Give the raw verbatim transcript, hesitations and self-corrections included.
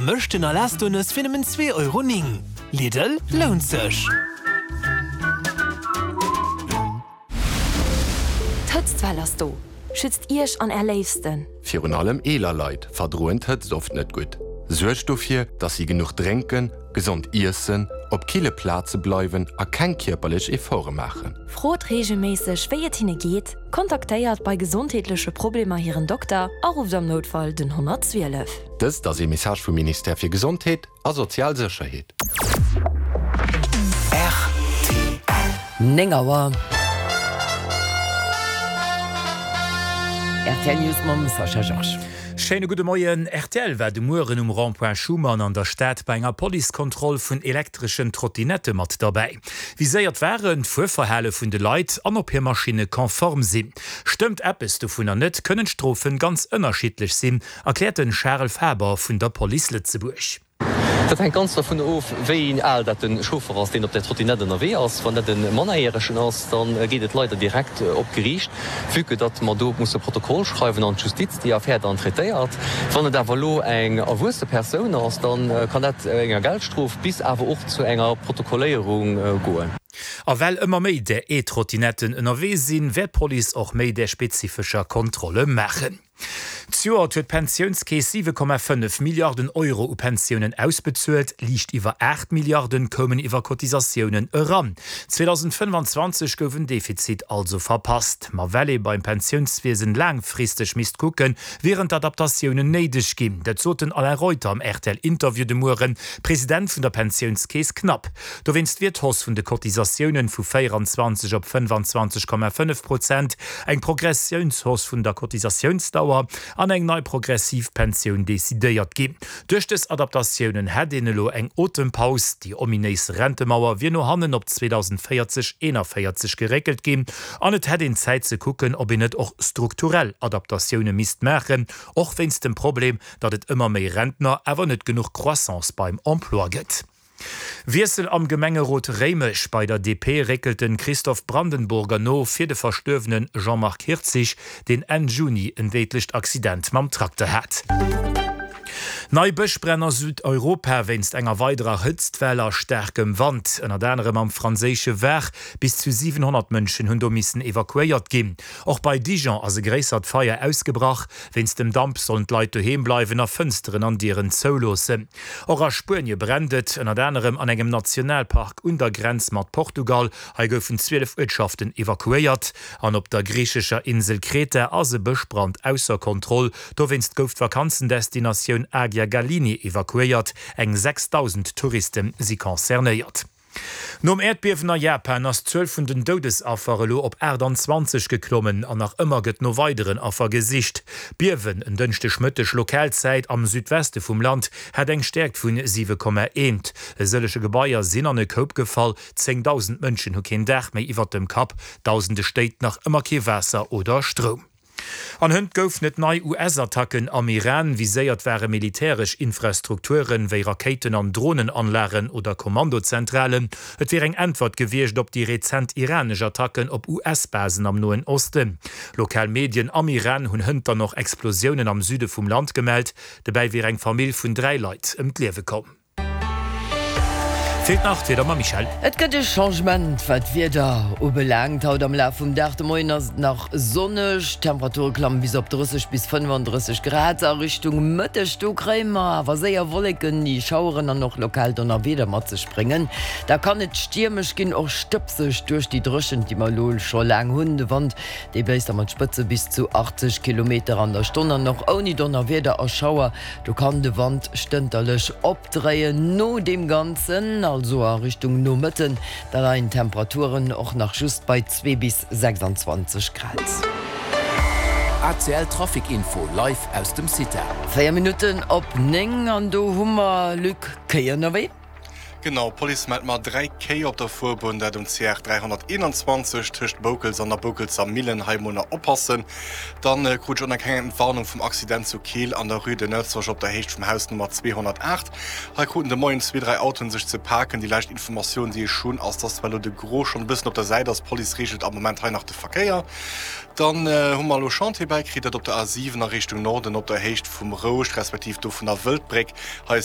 Vermëschten Alesto-Nëss fir nëmmen zwee Euro néng. Lidl, lount sech! D'Hëtztwell ass do! Schützt Iech an Är Léifsten! Virun allem eeler Leit verdroen d'Hëtzt oft net gutt. Suergt dofir, dass si genuch drénken, gesond iessen, op kille Plaze bleiwen a keng kierperlech Efforte maachen. Frot reegelméisseg, wéi et hinne geet, kontaktéiert bei gesondheetleche Problemer hiren Dokter a rufft am Noutfall den honnertzwielef. Dëst ass ee Message vum Ministère fir Gesondheet a sozial Sécherheet. Néng Auer. Rtl News mam Sascha Georges. Schéine gudde Moien. Rtl war de Mueren um Rond-point Schuman an der Stad bei enger Policekontroll vun elektreschen Trottinette mat derbäi. Viséiert waren d'Fuerverhale vun de Leit an ob hir Maschinne konform sinn. Stëmmt eppes dovunner net, kënnen d'Strofe ganz ënnerschiddlech sinn, erkläert de Charel Faber vun der Police Lëtzebuerg. Dat hänkt ganz dovun of, wéi al dat de Chauffer ass, deen op där Trottinett ënnerwee ass. Wann dat e Mannerjäregen ass, da geet et leider direkt op d'Geriicht, vue que datt mer do musse Protokoll schreiwen an d'Justiz déi Affär dann traitéiert. Wann et awer elo eng erwuesse Persoun ass, da kann dat enger Geldstrof bis awer och zu enger Protokolléierung goen. A well ëmmer méi där E-Trottinetten ënnerwee sinn, wäert d'Police och méi där spezifescher Kontrolle maachen. Zejoert huet d'Pensiounskeess siwe Komma fënnef Milliarden Euro u Pensiounen ausbezuelt, liicht iwwer aacht Milliarden koumen iwwer Cotisatiounen eran. zweedausendfënnefanzwanzeg gouf en Defizit also verpasst. Ma well ee beim Pensiounswiesen laangfristeg misst kucken, wieren d'Adaptatiounen néideg ginn. Dat sot den Alain Reuter am R T L-Interview de Mueren, President vun der Pensiounskeess knapp. Dowéinst wier d'Hausse vun de Cotisatiounen vu véieranzwanzeg op fënnefanzwanzeg Komma fënnef Prozent, eng Progressiounshausse vun der Cotisatiounsdauer an eng nei progressiv Pensioun decidéiert ginn. Duerch dës Adaptatiounen hätt een elo eng Otempaus, déi ominéis Rentemauer wier no hannen op zweedausendvéierzeg eenanvéierzeg geréckelt ginn an et hätt een Zäit ze kucken, ob een net och strukturell Adaptatioune misst maachen, och wéinst dem Problem, datt et ëmmer méi Rentner, awer net genuch Croissance beim Emploi gëtt. Wiessel am Gemengerot Réimech, Bei der D P réckelt de Christoph Brandenburger no fir de verstuerwene Jean-Marc Hirtzig, deen Enn Juni en déidlecht Accident mam Trakter hat. Nei Bëschbränn a Südeuropa wéinst enger weiderer Hëtztwell a staarkem Wand, ënnert anerem am franséische Var. Bis zu siwenhonnert Mënschen hunn do missen evakuéiert ginn. Och bei Dijon ass e gréissert Feier ausgebrach. Wéinst dem Damp sollen d'Leit doheem bleiwen a Fënsteren an Dieren zouloossen. Och a Spuenie brennt et, ënnert anerem an engem Nationalpark un der Grenz mat Portugal. Hei goufen zwielef Uertschaften evakuéiert. An op der griichescher Insel Kreta ass e Bëschbrand ausser Kontroll. Dowéinst gouf d'Vakanzendestinatioun Agia Galini evakuéiert. Eng sechsdausend Touriste si concernéiert. Nom Äerdbiewen a Japan ass d'Zuel vun den Doudesaffer elo op aachtanzwanzeg geklommen an nach ëmmer gëtt no weideren Affer gesicht. D'Biewen en Dënschdegmëtteg Lokalzäit am Südweste vum Land hat eng Stäerkt vun siwe Komma eent. E sëllege Gebaier sinn an e Koup gefall, zéngdausend Mënschen hu keen Daach méi iwwert dem Kapp, dausende Stéit nach ëmmer kee Waasser oder Stroum. An hënt goufen et nei U S-Attacken am Iran. Viséiert ware militäresch Infrastrukturen, wéi Rakéiten an Dronenanlagen oder Kommandozentralen. Et wier eng Äntwert gewiescht op déi rezent iranesch Attacken op U S-Basen am Noen Osten. Lokal Medien am Iran hunn hënt dann och Explosiounen am Süde vum Land gemellt. Dobäi wier eng Famill vun dräi Leit ëm d'Liewe komm. Feelt nach d'Wieder mam Michèle. Et gëtt e Changement wat d'Wieder ubelaangt haut am Laf vum Dag. De Moien ass et nach sonneg, d'Temperature klammen bis op drësseg bis fënnefandrësseg Grad. A Richtung Mëtteg do kréie mer awer séier Wolleken, déi Schaueren an och lokal Donnerwieder mat sech bréngen. Da kann et stiermesch ginn, och stëbseg duerch déi Dréchent, déi mer elo scho laang hunn. De Wand, dee bléist da mat Spëtze bis zu achtzeg Kilometer an der Stonn an och ouni Donnerwieder a Schauer, do kann de Wand stënterlech opdréien. No deem Ganzen, also a Richtung Nomëtten, da leien d'Temperaturen och nach just bei zwee bis sechsandzwanzeg Grad. A C L Trafic Info live aus dem CITA. Véier Minutten op néng an do hu mer, Luc, Kéi ënnerwee. Genau, d'Police mellt mar dräi Kéi op der Fuerbunn, dat um C R dräihonnerteenanzwanzeg tëscht Boukels an der Boukelser Millen, hei mol nach oppassen. Dann krut ech och nach keng Entwarnung vum Accident zu Keel an der Rue de Neufzorge op der Héicht vum Haus Nummer zweehonnertaacht. Hei kruten de Moien zwee, dräi Autoen sech ze paken. Déi lescht Informatioun, déi ech hunn, ass, dass zwar elo de Gros schonn e bëssen op der Säit ass, d'Police reegelt am Moment hei nach de Verkéier. Dann hu mer elo Chantier bäikritt, dat op der A siwen a Richtung Norden op der Héicht vum Rouscht, respektiv do vun der Wëldbréck. Hei ass déi.